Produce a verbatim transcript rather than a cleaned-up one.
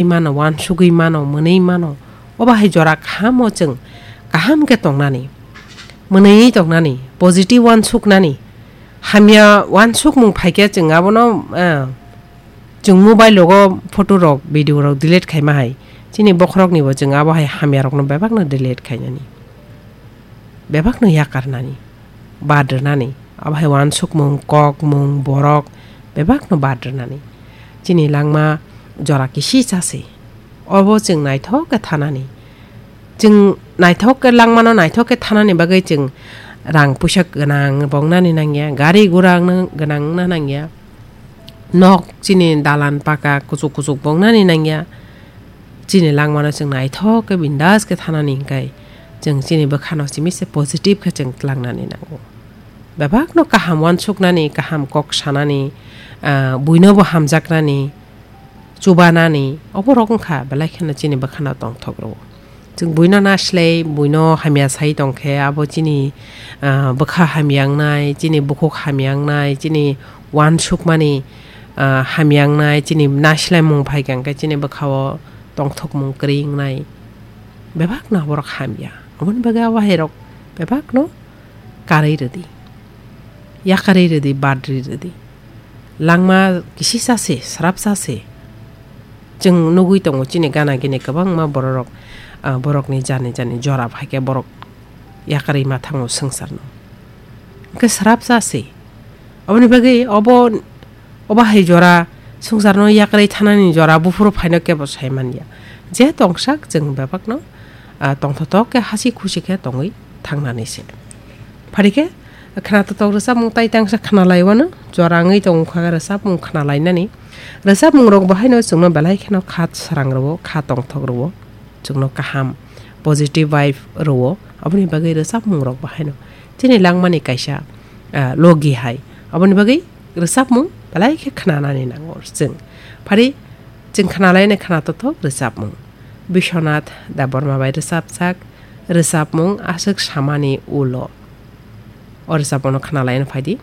mano, wansugwi mano, mwnwi mano. Obo hai jora kahamo chwng kaham khe tongnani, mwnwi tongnani, positive wansuknani, hamya wansukmung phaikhe chwng abono, ah, chwng mobile rogo photo rok, video rok delete khaima hai, chini bokhoroknibo chwng abo hai hamya rokno bebakno delete khainani, bebakno yakarnani, bad rwnani, abo hai wansukmung, kokmung, borok bebakno bad rwnani. Chini langma jora kisi chasi, obo chwng naithok khe thanani. Chwng naithok khe langmano naithok khe thanani bagwi chwng rang puisa gwnang bo wngnani nangya, gari gura wngna, gwnang wngna nangya, nok chini dalan paka kuchuk kuchuk bo wngnani nangya. Chini langmano chwng naithok khe bindas khe thanani hwnkhe chwng chini bwkhano simi se positive khe chwng tlangnani nango. Bebakno kaham wansuknani, kaham kok sanani, ah, buinobo hamjaknani, chubanani, oborok wngkha belai kheno chini bwkhano tongthok rwo. Chwng buino naslai, buino hamya sai tongkhe, abo chini, ah, bwkha hamya wngnai, chini bukhuk hamya wngnai, chini wansukmani, ah, hamya wngnai, chini naslaimung phaikha hwnkhe chini bwkhao tongthokmung kwrwi wngnai. Bebakno borok hamya. Aboni bagwi abo hairok bebakno karwi rwdi. Yakarwi rwdi, badri rwdi. Langma kisisa se, srapsa se. Chwng nugwi tongo chini gana gini kwbangma bororok, ah, borokni jani jani jora phaikhe borok yakarwi ma thango swngcharno. Hwnkhe srapsa se. Aboni bagwi obo, obo hai jora swngcharno yakarwi thanani jora buphuru phaino kebo sai manya. Je tongsak chwng bebakno, ah, tongthotok khe hasi khusi khe tongwi thangnani se. Phari khe khna totok rwchapmung tai tangsa khna laiwano jora wngwi tongkha rwchapmung khna lainani. Rwchapmung rok bo haino chwngno belai kheno kha srang rwo, kha tongthok rwo, chwngno kaham positive vibe rwo. Aboni bagwi rwchapmung rok bo haino chini langmani kaisa, ah, logi hai. Aboni bagwi rwchapmung belai khe khnanani nango chwng. Phari chwng khna lainai khna totok rwchapmung. Biswanath Debbarma bai rwchapjak rwchapmung Aswk Samani Ulo. O rwchapmungno khna laina phaidi.